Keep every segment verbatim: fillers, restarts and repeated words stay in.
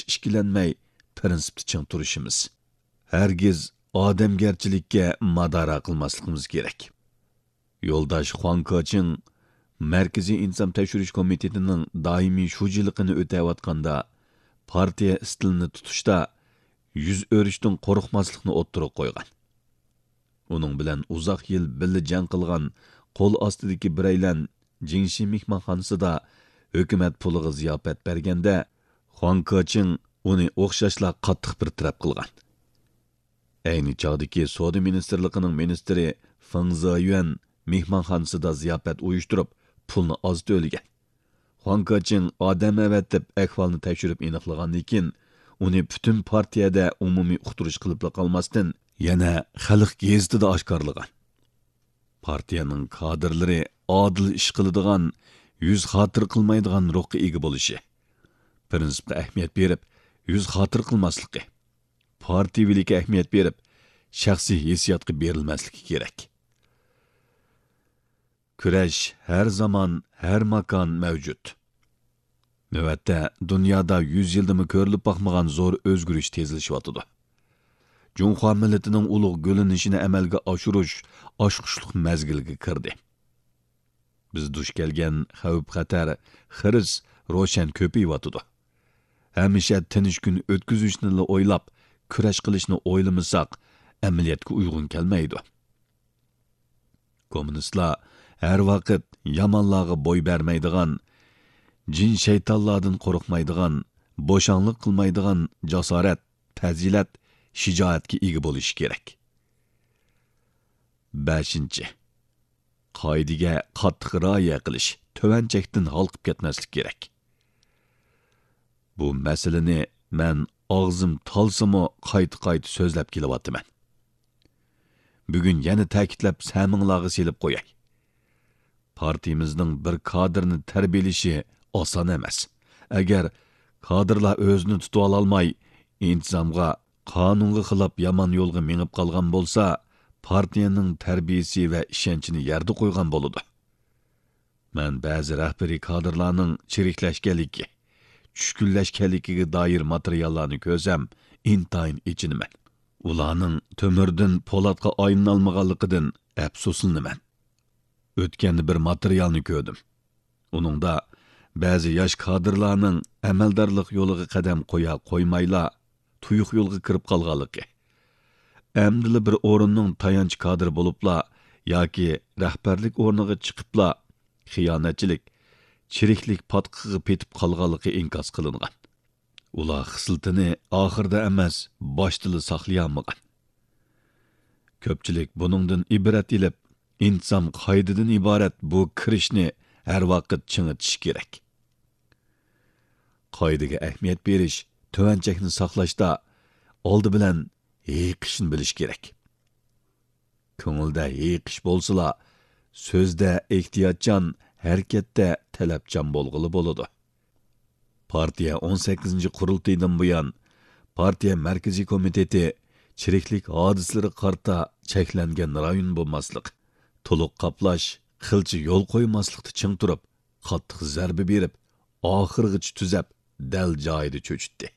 ئىككىلەنمەي پىرىنسىپتا چىڭ تۇرۇشىمىز. ھەرگىز ئادەمگەرچىلىككە مادارا قىلماسلىقىمىز كېرەك. يولداش خۇاڭ كېچىڭ مەركىزىي ئىنتىزام تەكشۈرۈش كومىتېتىنىڭ دائىمىي شۇجىلىقىنى ئۆتەۋاتقاندا، پارتىيە ئىستىلىنى تۇتۇشتا يۈز ئۆرۈشتىن قورقماسلىقنى ئوتتۇرىغا قويغان. ئۇنىڭ بىلەن ئۇزاق يىل بىللە جەڭ قىلغان قول ئاستىدىكى بىرەيلەن جىڭشى مېھمانخانىسىدا ھۆكۈمەت پۇلىغا زىياپەت بەرگەندە، خۇاڭ كېچىڭ ئۇنى ئوخشاشلا قاتتىق بىر تەرەپ قىلغان. ئەينى چاغدىكى سودا مىنىستىرلىقىنىڭ مىنىستىرى فېڭ زېيۈەن مېھمانخانىسىدا زىياپەت ئۇيۇشتۇرۇپ، پۇلنى ئاز تۆلىگەن. خۇاڭ كېچىڭ ئادەم ئەۋەتىپ ئەھۋالنى تەكشۈرۈپ ئېنىقلىغاندىن كېيىن، ئۇنى پۈتۈن پارتىيەدە ئومۇمىي ئۇقتۇرۇش قىلىپلا قالماستىن، يەنە خەلق گېزىتىدە ئاشكارىلىغان. پارتىيەنىڭ كادىرلىرى ئادىل ئىش قىلىدىغان، يۈز خاتىرە قىلمايدىغان روھقا ئىگە بولۇشى، پىرىنسىپقا ئەھمىيەت بېرىپ، يۈز خاتىرە قىلماسلىقى، پارتىيىۋىلىككە ئەھمىيەت بېرىپ، شەخسىي ھېسسىياتقا بېرىلمەسلىكى كېرەك. كۈرەش ھەر زامان، ھەر ماكان مەۋجۇت. نۆۋەتتە دۇنيادا يۈز يىلدىمۇ كۆرۈلۈپ باقمىغان زور ئۆزگىرىش تېزلىشىۋاتىدۇ. جۇڭخۇا مىللىتىنىڭ ئۇلۇغ گۈللىنىشىنى ئەمەلگە ئاشۇرۇش ئاچقۇچلۇق مەزگىلگە كىردى. بىز دۇچ كەلگەن خەۋپ-خەتەر، خىرىس روشەن كۆپىيىۋاتىدۇ. ھەمىشە تىنچ كۈن ئۆتكۈزۈشنىلا ئويلاپ، كۈرەش قىلىشنى ئويلىمىساق، ئەمەلىيەتكە ئۇيغۇن كەلمەيدۇ. كوممۇنىستلار ھەر ۋاقىت يامانلارغا بوي بەرمەيدىغان، جىن-شەيتانلاردىن قورقمايدىغان، بوشاڭلىق قىلمايدىغان جاسارەت، پەزىلەت، شىجائەتكە ئىگە بولۇشى كېرەك. بەشىنچى، قائىدىگە قاتتىق رىئايە قىلىش، تۆۋەن چەكتىن ھالقىپ كەتمەسلىك كېرەك. بۇ مەسىلىنى مەن ئاغزىم تالسىمۇ قايتا-قايتا سۆزلەپ كېلىۋاتىمەن. بۈگۈن يەنە تەكىتلەپ سەمىڭلارغا سېلىپ قوياي. پارتىيىمىزنىڭ بىر كادىرنى تەربىيەلىشى ئاسان ئەمەس. ئەگەر كادىرلار ئۆزىنى تۇتۇۋالالماي، ئىنتىزامغا، قانۇنغا خىلاپ يامان يولغا مېڭىپ قالغان بولسا، پارتىيەنىڭ تەربىيەسى ۋە ئىشەنچىنى يەردە قويغان بولىدۇ. مەن بەزى رەھبىرىي كادىرلارنىڭ چىرىكلەشكەنلىكى، چۈشكۈنلەشكەنلىكىگە دائىر ماتېرىياللارنى كۆرسەم، ئىنتايىن ئېچىنىمەن. ئۇلارنىڭ تۆمۈردىن پولاتقا ئايلىنالمىغانلىقىدىن ئەپسۇسلىنىمەن. ئۆتكەندە بىر ماتېرىيالنى كۆردۈم. ئۇنىڭدا بەزى ياش كادىرلارنىڭ ئەمەلدارلىق يولىغا قەدەم قويا قويمايلا، تۇيۇق يولغا كىرىپ قالغانلىقى، ئەمدىلا بىر ئورۇننىڭ تايانچ كادىرى بولۇپلا ياكى رەھبەرلىك ئورنىغا چىقىپلا خىيانەتچىلىك، چىرىكلىك پاتقىقىغا پېتىپ قالغانلىقى ئىنكاس قىلىنغان. ئۇلار خىسلىتىنى ئاخىرىدا ئەمەس، باشتىلا ساقلىيالمىغان. كۆپچىلىك بۇنىڭدىن ئىبرەت ئېلىپ، ئىنتىزام قائىدىدىن ئىبارەت بۇ كىرىشنى ھەر ۋاقىت چىڭىتىشى كېرەك. قائىدىگە ئەھمىيەت بېرىش، تۆۋەن چەكنى ساقلاشتا ئالدى بىلەن ھېيىقىشنى بىلىش كېرەك. كۆڭۈلدە ھېيىقىش بولسىلا، سۆزدە ئېھتىياتچان، ھەرىكەتتە تەلەپچان بولغىلى بولىدۇ. پارتىيە ئون سەككىزىنچى قۇرۇلتىيىدىن بۇيان، پارتىيە مەركىزىي كومىتېتى چىرىكلىك ھادىسىلىرىگە قارىتا چەكلەنگەن رايون بولماسلىق، تولۇق قاپلاش، قىلچە يول قويماسلىقتا چىڭ تۇرۇپ، قاتتىق زەربە بېرىپ، ئاخىرغىچە تۈزەپ، دەل جايىدا چۆچۈتتى.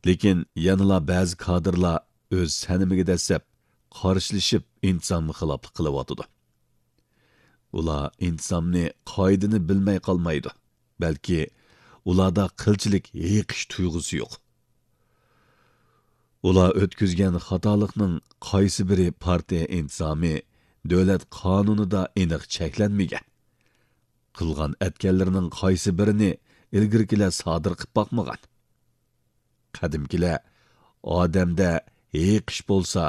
لېكىن يەنىلا بەزى كادىرلار ئۆز سەنىمىگە دەسسەپ، قارشىلىشىپ، ئىنتىزامغا خىلاپلىق قىلىۋاتىدۇ. ئۇلار ئىنتىزامنى، قائىدىنى بىلمەي قالمايدۇ، بەلكى ئۇلاردا قىلچىلىك ھېيىقىش تۇيغۇسى يوق. ئۇلار ئۆتكۈزگەن خاتالىقنىڭ قايسى بىرى پارتىيە ئىنتىزامى، دۆلەت قانۇنىدا ئېنىق چەكلەنمىگەن؟ قىلغان ئەتكەنلىرىنىڭ قايسى بىرىنى ئىلگىرىكىلەر سادىر قىپ باقمىغان؟ قەدىمكىلەر، ئادەمدە ھېيىقىش بولسا،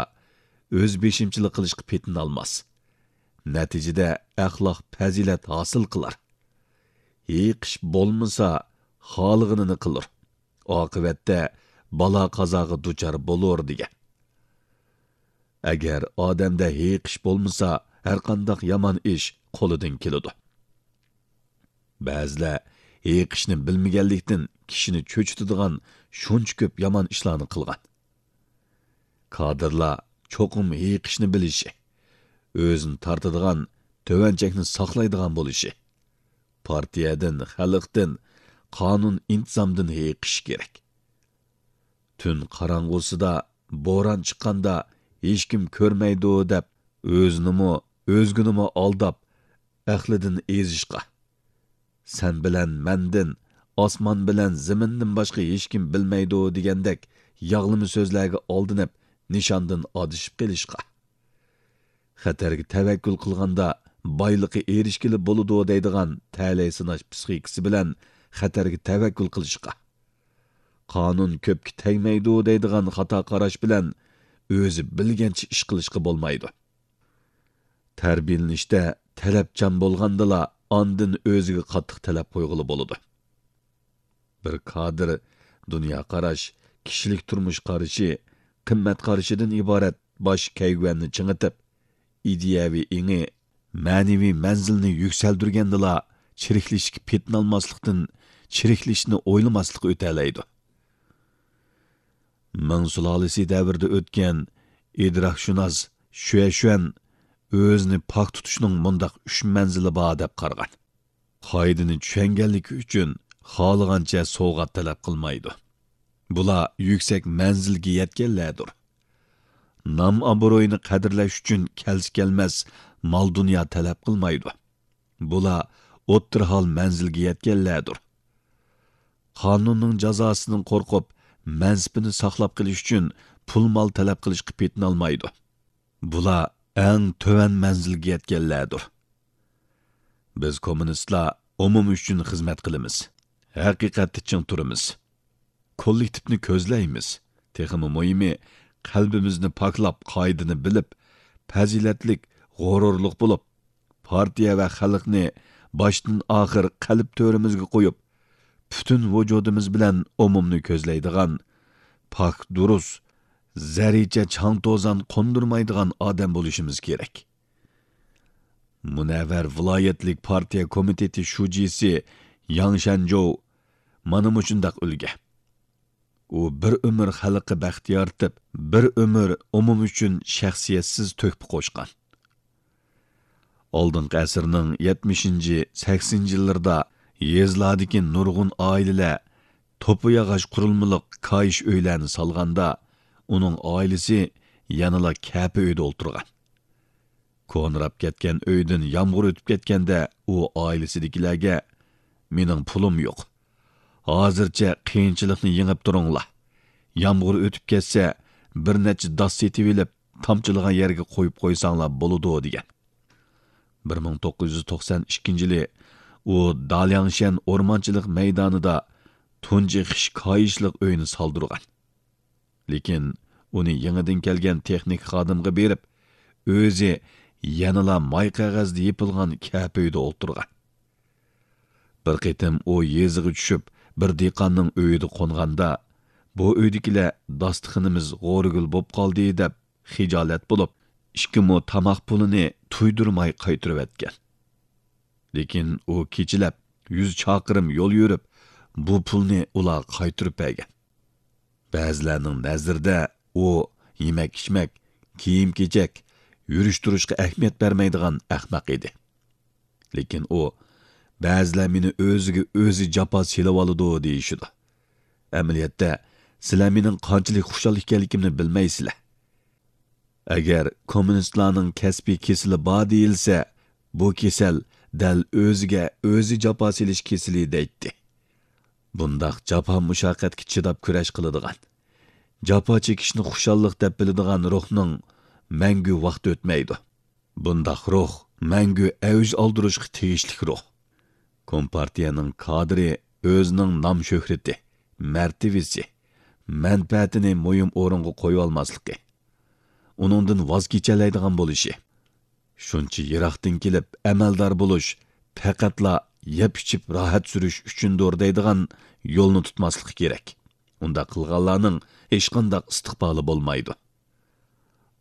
ئۆز بېشىمچىلىق قىلىشقا پېتىنالماس. نەتىجىدە ئەخلاق پەزىلەت ھاسىل قىلار. ھېيىقىش بولمىسا، خالىغىنىنى قىلۇر. ئاقىۋەتتە بالا-قازاغا دۇچار بولۇر دېگەن. ئەگەر ئادەمدە ھېيىقىش بولمىسا، ھەرقانداق يامان ئىش قولىدىن كېلىدۇ. بەزىلەر ھېيىقىشنى بىلمىگەنلىكتىن كىشىنى چۆچۈتىدىغان شۇنچە كۆپ يامان ئىشلارنى قىلغان. كادىرلار چوقۇم ھېيىقىشنى بىلىشى، ئۆزىنى تارتىدىغان، تۆۋەن چەكنى ساقلايدىغان بولۇشى، پارتىيەدىن، خەلقتىن قانۇن-ئىنتىزامدىن ھېيىقىشى كېرەك. تۈن قاراڭغۇسىدا، بوران چىققاندا ھېچكىم كۆرمەيدۇ دەپ، ئۆزىنىمۇ، ئۆزگىنىمۇ ئالداپ، ئەقلىدىن ئېزىشقا، «سەن بىلەن مەندىن، ئاسمان بىلەن زېمىندىن باشقا ھېچكىم بىلمەيدۇ» دېگەندەك ياغلىما سۆزلەرگە ئالدىنىپ، نىشاندىن ئادىشىپ قېلىشقا، خەتەرگە تەۋەككۈل قىلغاندا بايلىققا ئېرىشكىلى بولىدۇ دەيدىغان تەلەي سىناش پىسخىكىسى بىلەن خەتەرگە تەۋەككۈل قىلىشقا، قانۇن كۆپكە تەگمەيدۇ دەيدىغان خاتا قاراش بىلەن ئۆزى بىلگەنچە ئىش قىلىشقا بولمايدۇ. تەربىيەلىنىشتە تەلەپچان بولغاندىلا، ئاندىن ئۆزىگە قاتتىق تەلەپ قويغىلى بولىدۇ. بىر كادىر دۇنيا قاراش، كىشىلىك تۇرمۇش قارىشى، قىممەت قارىشىدىن ئىبارەت باش كەيۋەننى چىڭىتىپ، ئىدىيەۋى ئېڭى، مەنىۋى مەنزىلىنى يۈكسەلدۈرگەندىلا، چىرىكلىشىشكە پېتىنالماسلىقتىن چىرىكلىشىشنى ئويلىماسلىققا ئۆتەلەيدۇ. مىڭ سۇلالىسى دەۋرىدە ئۆتكەن ئىدراكشۇناس شۈەشۈەن ئۆزىنى پاك تۇتۇشنىڭ مۇنداق ئۈچ مەنزىلى بار دەپ قارىغان. قائىدىنى چۈشەنگەنلىكى ئۈچۈن خالىغانچە سوۋغات تەلەپ قىلمايدۇ. بۇلار يۈكسەك مەنزىلگە يەتكەنلەردۇر. نام-ئابرۇينى قەدىرلەش ئۈچۈن كەلسە-كەلمەس مال-دۇنيا تەلەپ قىلمايدۇ. بۇلار ئوتتۇرا ھال مەنزىلگە يەتكەنلەردۇر. قانۇننىڭ جازاسىدىن قورقۇپ، مەنسىپىنى ساقلاپ قېلىش ئۈچۈن پۇل-مال تەلەپ قىلىشقا پېتىنالمايدۇ. بۇلار ئەڭ تۆۋەن مەنزىلگە يەتكەنلەردۇر. بىز كوممۇنىستلار ئومۇم ئۈچۈن خىزمەت قىلىمىز. ھەقىقەتتە چىڭ تۇرىمىز. كوللېكتىپنى كۆزلەيمىز. تېخىمۇ مۇھىمى، قەلبىمىزنى پاكلاپ، قائىدىنى بىلىپ، پەزىلەتلىك، غۇرۇرلۇق بولۇپ، پارتىيە ۋە خەلقنى باشتىن ئاخىر قەلب تۆرىمىزگە قويۇپ، پۈتۈن ۋۇجۇدىمىز بىلەن ئومۇمنى كۆزلەيدىغان، پاك، دۇرۇس، زەررىچە چاڭ-توزان قوندۇرمايدىغان ئادەم بولۇشىمىز كېرەك. مۇنەۋۋەر ۋىلايەتلىك پارتىيە كومىتېتى شۇجىسى ياڭ شەنجوۋ مانا مۇشۇنداق ئۈلگە. ئۇ بىر ئۆمۈر خەلققە بەخت يارىتىپ، بىر ئۆمۈر ئومۇم ئۈچۈن شەخسىيەتسىز تۆھپە قوشقان. ئالدىنقى ئەسىرنىڭ يەتمىشىنچى، سەكسىنىنچى يىللىرىدا يېزىلاردىكى نۇرغۇن ئائىلىلەر توپا ياغاچ قۇرۇلمىلىق كايىش ئۆيلەرنى سالغاندا، ئۇنىڭ ئائىلىسى يەنىلا كەپە ئۆيدە ئولتۇرغان. كونىراپ كەتكەن ئۆيدىن يامغۇر ئۆتۈپ كەتكەندە، ئۇ ئائىلىسىدىكىلەرگە، «مېنىڭ پۇلۇم يوق. ھازىرچە قىيىنچىلىقنى يېڭىپ تۇرۇڭلار. يامغۇر ئۆتۈپ كەتسە، بىر نەچچە داس سېتىۋېلىپ، تامچىلىغان يەرگە قويۇپ قويساڭلار بولىدۇ» دېگەن. بىر مىڭ توققۇز يۈز توقسان ئىككىنچى يىلى ئۇ دالياڭشيەن ئورمانچىلىق مەيدانىدا تۇنجى خىش كايىشلىق ئۆينى سالدۇرغان. لېكىن ئۇنى يېڭىدىن كەلگەن تېخنىك خادىمغا بېرىپ، ئۆزى يەنىلا ماي قەغەزدە يېپىلغان كەپە ئۆيدە ئولتۇرغان. بىر قېتىم ئۇ يېزىغا چۈشۈپ، بىر دېھقاننىڭ ئۆيىدە قونغاندا، بۇ ئۆيدىكىلەر داستىخىنىمىز غورىگىل بوپ قالدى دەپ خىجالەت بولۇپ، ئىككى مو تاماق پۇلىنى تۇيدۇرماي قايتۇرۇۋەتكەن. لېكىن ئۇ كېچىلەپ يۈز چاقىرىم يول يۈرۈپ، بۇ پۇلنى ئۇلارغا قايتۇرۇپ بەرگەن. بەزىلەرنىڭ نەزىرىدە ئۇ يېمەك-ئىچمەك، كىيىم-كېچەك، يۈرۈش-تۇرۇشقا ئەھمىيەت بەرمەيدىغان ئەخمەق ئىدى. لېكىن ئۇ، «بەزىلەر مېنى ئۆزىگە ئۆزى جاپا سېلىۋالىدۇ» دېيىشىدۇ. ئەمەلىيەتتە، سىلەر مېنىڭ قانچىلىك خۇشال ئىكەنلىكىمنى بىلمەيسىلەر. ئەگەر كوممۇنىستلارنىڭ كەسپىي كېسىلى بار دېيىلسە، بۇ كېسەل دەل ئۆزىگە ئۆزى جاپا سېلىش كېسىلى دەيتتى. بۇنداق جاپا-مۇشەققەتكە چىداپ كۈرەش قىلىدىغان، جاپا چېكىشنى خۇشاللىق دەپ بىلىدىغان روھنىڭ مەڭگۈ ۋاقتى ئۆتمەيدۇ. بۇنداق روھ مەڭگۈ ئەۋج ئالدۇرۇشقا تېگىشلىك روھ. كومپارتىيەنىڭ كادىرى ئۆزىنىڭ نام-شۆھرىتى، مەرتىۋىسى، مەنپەئەتىنى مۇھىم ئورۇنغا قويۇۋالماسلىقى، ئۇنىڭدىن ۋاز كېچەلەيدىغان بولۇشى، شۇنچە يىراقتىن كېلىپ ئەمەلدار بولۇش پەقەتلا يەپ-ئىچىپ راھەت سۈرۈش ئۈچۈندۇر دەيدىغان يولنى تۇتماسلىقى كېرەك. ئۇنداق قىلغانلارنىڭ ھېچقانداق ئىستىقبالى بولمايدۇ.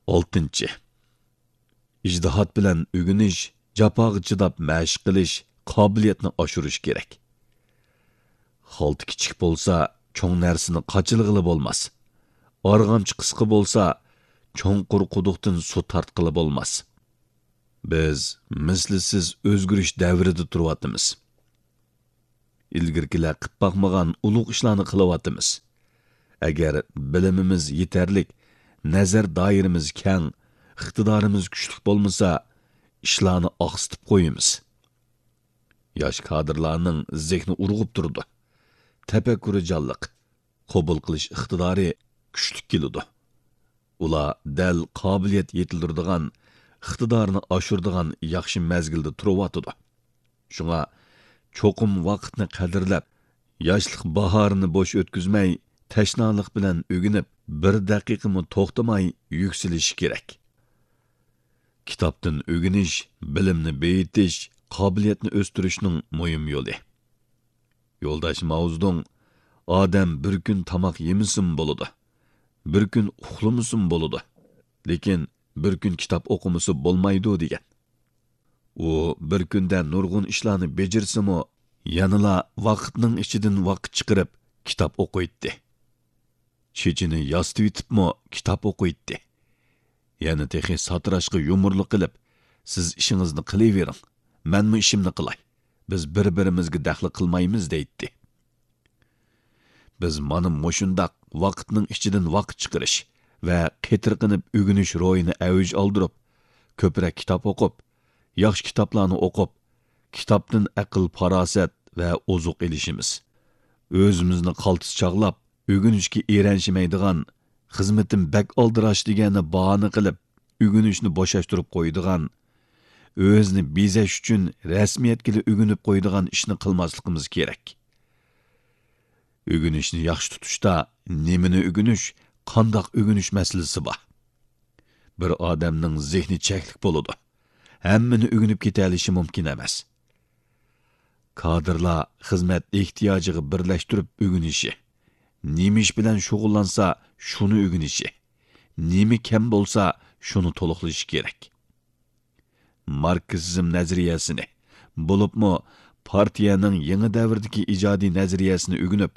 ئالتىنچى، ئىجتىھات بىلەن ئۆگىنىش، جاپاغا چىداپ مەشىق قىلىش، قابىلىيەتنى ئاشۇرۇش كېرەك. خالتا كىچىك بولسا، چوڭ نەرسىنى قاچىلىغىلى بولماس. ئارغامچا قىسقا بولسا، چوڭقۇر قۇدۇقتىن سۇ تارتقىلى بولماس. بىز مىسلىسىز ئۆزگىرىش دەۋرىدە تۇرۇۋاتىمىز. ئىلگىرىكىلەر قىپ باقمىغان ئۇلۇغ ئىشلارنى قىلىۋاتىمىز. ئەگەر بىلىمىمىز يېتەرلىك، نەزەر دائىرىمىز كەڭ، ئىقتىدارىمىز كۈچلۈك بولمىسا، ئىشلارنى ئاقسىتىپ قويىمىز. ياش كادىرلارنىڭ زېھنى ئۇرغۇپ تۇرىدۇ. تەپەككۇرى جانلىق، قوبۇل قىلىش ئىقتىدارى كۈچلۈك كېلىدۇ. ئۇلار دەل قابىلىيەت يېتىلدۈرىدىغان، ئىقتىدارنى ئاشۇرىدىغان ياخشى مەزگىلدە تۇرۇۋاتىدۇ. شۇڭا چوقۇم ۋاقىتنى قەدىرلەپ، ياشلىق باھارىنى بوش ئۆتكۈزمەي، تەشنالىق بىلەن ئۆگىنىپ، بىر دەقىقىمۇ توختىماي يۈكسىلىشى كېرەك. كىتابتىن ئۆگىنىش، بىلىمنى بېيىتىش، قابىلىيەتنى ئۆستۈرۈشنىڭ مۇھىم يولى. يولداش ماۋزېدۇڭ، «ئادەم بىر كۈن تاماق يېمىسىمۇ بولىدۇ، بىر كۈن ئۇخلىمىسىمۇ بولىدۇ، لېكىن بىر كۈن كىتاب ئوقۇمىسا بولمايدۇ» دېگەن. ئۇ بىر كۈندە نۇرغۇن ئىشلارنى بېجىرسىمۇ، يەنىلا ۋاقىتنىڭ ئىچىدىن ۋاقىت چىقىرىپ كىتاب ئوقۇيتتى. چېچىنى ياسىتىۋېتىپمۇ كىتاب ئوقۇيتتى. يەنە تېخى ساتىراشقا يۇمۇرلۇق قىلىپ، «سىز ئىشىڭىزنى قىلىۋېرىڭ، مەنمۇ ئىشىمنى قىلاي. بىز بىر-بىرىمىزگە دەخلى قىلمايمىز» دەيتتى. بىز مانا مۇشۇنداق ۋاقىتنىڭ ئىچىدىن ۋاقىت چىقىرىش ۋە قېتىرقىنىپ ئۆگىنىش روھىنى ئەۋج ئالدۇرۇپ، كۆپرەك كىتاب ئوقۇپ، ياخشى كىتابلارنى ئوقۇپ، كىتابتىن ئەقىل-پاراسەت ۋە ئوزۇق ئېلىشىمىز. ئۆزىمىزنى قالتىس چاغلاپ، ئۆگىنىشكە ئېرەنشىمەيدىغان، «خىزمىتىم بەك ئالدىراش» دېگەننى باھانە قىلىپ، ئۆگىنىشنى بوشاشتۇرۇپ قويىدىغان، ئۆزىنى بېزەش ئۈچۈن رەسمىيەتكىلا ئۆگىنىپ قويىدىغان ئىشنى قىلماسلىقىمىز كېرەك. ئۆگىنىشنى ياخشى تۇتۇشتا نېمىنى ئۆگىنىش، قانداق ئۆگىنىش مەسىلىسى بار. بىر ئادەمنىڭ زېھنى چەكلىك بولىدۇ. ھەممىنى ئۆگىنىپ كېتەلىشى مۇمكىن ئەمەس. كادىرلار خىزمەت ئېھتىياجىغا بىرلەشتۈرۈپ ئۆگىنىشى، نېمە ئىش بىلەن شۇغۇللانسا، شۇنى ئۆگىنىشى، نېمە كەم بولسا، شۇنى تولۇقلىشى كېرەك. ماركسىزم نەزەرىيەسىنى، بولۇپمۇ پارتىيەنىڭ يېڭى دەۋردىكى ئىجادىي نەزەرىيەسىنى ئۆگىنىپ،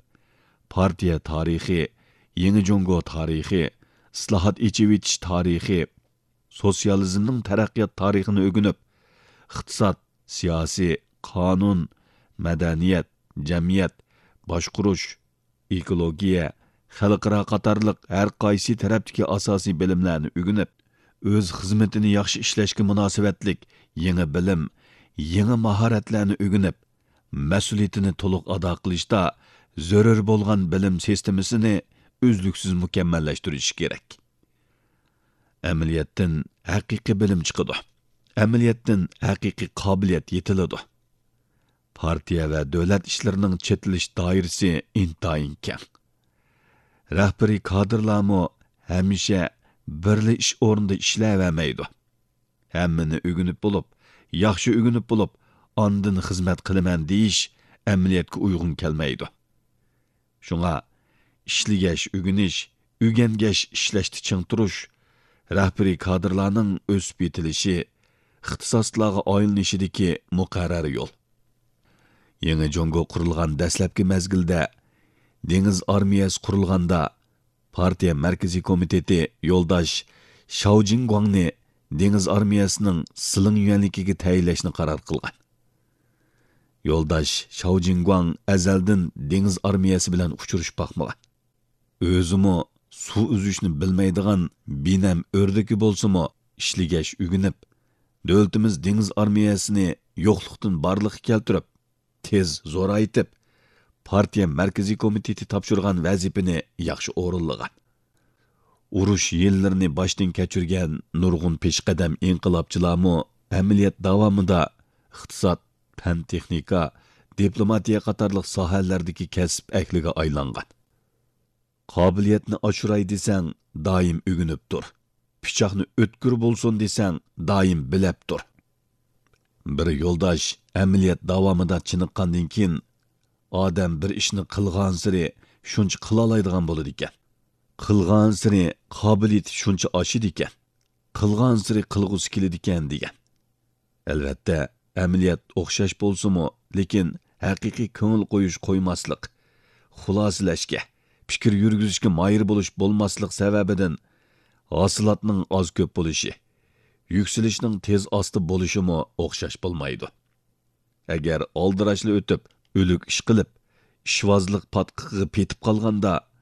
پارتىيە تارىخى، يېڭى جۇڭگو تارىخى، ئىسلاھات، ئېچىۋېتىش تارىخى، سوتسىيالىزمنىڭ تەرەققىيات تارىخىنى ئۆگىنىپ، ئىقتىساد، سىياسىي، قانۇن، مەدەنىيەت، جەمئىيەت، باشقۇرۇش، ئېكولوگىيە، خەلقئارا قاتارلىق ھەر قايسى تەرەپتىكى ئاساسىي بىلىملەرنى ئۆگىنىپ، ئۆز خىزمىتىنى ياخشى ئىشلەشكە مۇناسىۋەتلىك يېڭى بىلىم، يېڭى ماھارەتلەرنى ئۆگىنىپ، مەسئۇلىيىتىنى تولۇق ئادا قىلىشتا زۆرۈر بولغان بىلىم سىستېمىسىنى ئۈزلۈكسىز مۇكەممەللەشتۈرۈشى كېرەك. ئەمەلىيەتتىن ھەقىقىي بىلىم چىقىدۇ. ئەمەلىيەتتىن ھەقىقىي قابىلىيەت يېتىلىدۇ. پارتىيە ۋە دۆلەت ئىشلىرىنىڭ چېتىلىش دائىرىسى ئىنتايىن كەڭ. رەھبىرىي كادىرلارمۇ ھەمىشە بىرلا ئىش ئورنىدا ئىشلەۋەرمەيدۇ. ھەممىنى ئۆگىنىپ بولۇپ، ياخشى ئۆگىنىپ بولۇپ، ئاندىن خىزمەت قىلىمەن دېيىش ئەمەلىيەتكە ئۇيغۇن كەلمەيدۇ. شۇڭا ئىشلىگەچ ئۆگىنىش، ئۆگەنگەچ ئىشلەشتە چىڭ تۇرۇش رەھبىرىي كادىرلارنىڭ ئۆسۈپ يېتىلىشى، ئىختىساسلىقلارغا ئايلىنىشىدىكى مۇقەررەر يول. يېڭى جۇڭگو قۇرۇلغان دەسلەپكى مەزگىلدە، دېڭىز ئارمىيەسى قۇرۇلغاندا، پارتىيە مەركىزىي كومىتېتى يولداش شاۋ جىنگۇاڭنى دېڭىز ئارمىيەسىنىڭ سىلىڭ يۈەنلىكىگە تەيىنلەشنى قارار قىلغان. يولداش شاۋ جىنگۇاڭ ئەزەلدىن دېڭىز ئارمىيەسى بىلەن ئۇچرىشىپ باقمىغان. ئۆزىمۇ سۇ ئۈزۈشنى بىلمەيدىغان بىنەم ئۆردىكى بولسىمۇ، ئىشلىگەچ ئۆگىنىپ، دۆلىتىمىز دېڭىز ئارمىيەسىنى يوقلۇقتىن بارلىققا كەلتۈرۈپ، تېز زورايتىپ، پارتىيە مەركىزىي كومىتېتى تاپشۇرغان ۋەزىپىنى ياخشى ئورۇنلىغان. ئۇرۇش يىللىرىنى باشتىن كەچۈرگەن نۇرغۇن پېشقەدەم ئىنقىلابچىلارمۇ ئەمەلىيەت داۋامىدا ئىقتىساد، پەن-تېخنىكا، دىپلوماتىيە قاتارلىق ساھەلەردىكى كەسىپ ئەھلىگە ئايلانغان. قابىلىيەتنى ئاشۇراي دېسەڭ، دائىم ئۆگىنىپ تۇر. پىچاقنى ئۆتكۈر بولسۇن دېسەڭ، دائىم بىلەپ تۇر. بىر يولداش ئەمەلىيەت داۋامىدا چېنىققاندىن كېيىن، ئادەم بىر ئىشنى قىلغانسېرى شۇنچە قىلالايدىغان بولىدىكەن. قىلغانسېرى قابىلىيىتى شۇنچە ئاشىدىكەن. قىلغانسېرى قىلغۇسى كېلىدىكەن، دېگەن. ئەلۋەتتە، ئەمەلىيەت ئوخشاش بولسىمۇ، لېكىن ھەقىقىي كۆڭۈل قويۇش، قويماسلىق، خۇلاسىلەشكە، پىكىر يۈرگۈزۈشكە ماھىر بولۇش بولماسلىق سەۋەبىدىن ھاسىلاتنىڭ ئاز-كۆپ بولۇشى، يۈكسىلىشنىڭ تېز-ئاستا بولۇشىمۇ ئوخشاش بولمايدۇ. ئەگەر ئالدىراشلا ئۆتۈپ، ئۆلۈك ئىشقىلىپ، ئىشۋازلىق پاتقىقىغا پېتىپ قالغاندا،